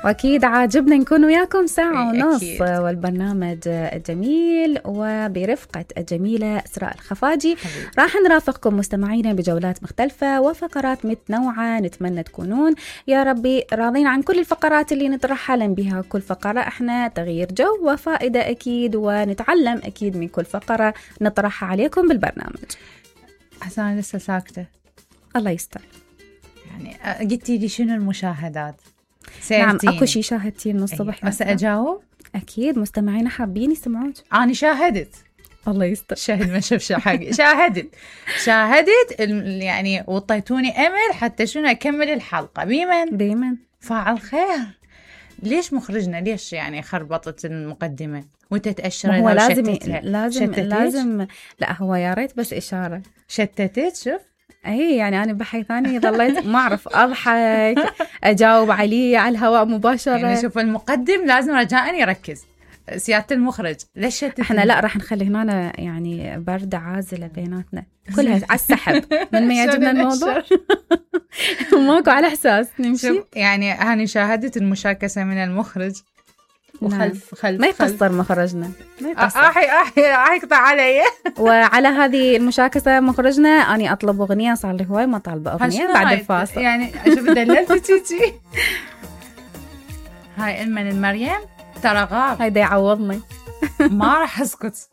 وأكيد عاجبنا نكون وياكم ساعة ونص أكيد. والبرنامج الجميل وبرفقة الجميلة إسراء الخفاجي. راح نرافقكم مستمعينا بجولات مختلفة وفقرات متنوعة. نتمنى تكونون يا ربي راضين عن كل الفقرات اللي نطرحها، لأن بها كل فقرة احنا تغيير جو وفائدة أكيد، ونتعلم أكيد من كل فقرة نطرحها عليكم بالبرنامج. أنا لسه ساكتة. الله يستر. يعني قلتي لي شنو المشاهدات؟ نعم أكو شي شاهدتين من الصبح. بس أجاوب؟ أكيد مستمعينا حابين يسمعوك. أنا شاهدت. الله يستر. شاهد ما شاف حاجة. شاهدت يعني وطيتوني أمل حتى شنو أكمل الحلقة. بيمن فاعل خير. ليش مخرجنا ليش يعني خربطت المقدمة وتتأشر هو لها لازم لا هو يا ريت بس إشارة شتتت. شوف اي يعني انا بحي ثاني ظليت ما اعرف اضحك اجاوب عليه على الهواء مباشره. يعني شوف المقدم لازم رجاء يركز. سيادة المخرج ليش احنا لا راح نخلي هنا يعني بردة عازلة بيناتنا كلها على السحب من ما يعجبنا الموضوع. ماكو على احساس نمشي. يعني هاني شاهدت المشاكسة من المخرج وخلف ما يقصر مخرجنا ما يقصر. اقطع علي. وعلى هذه المشاكسة مخرجنا أني أطلب أغنية، صار لي هواي ما طالبة أغنية بعد الفاصل. يعني شوف دللتي تيجي. هاي من المريم ترى غاب. هيدا يعوضني. ما راح اسكت.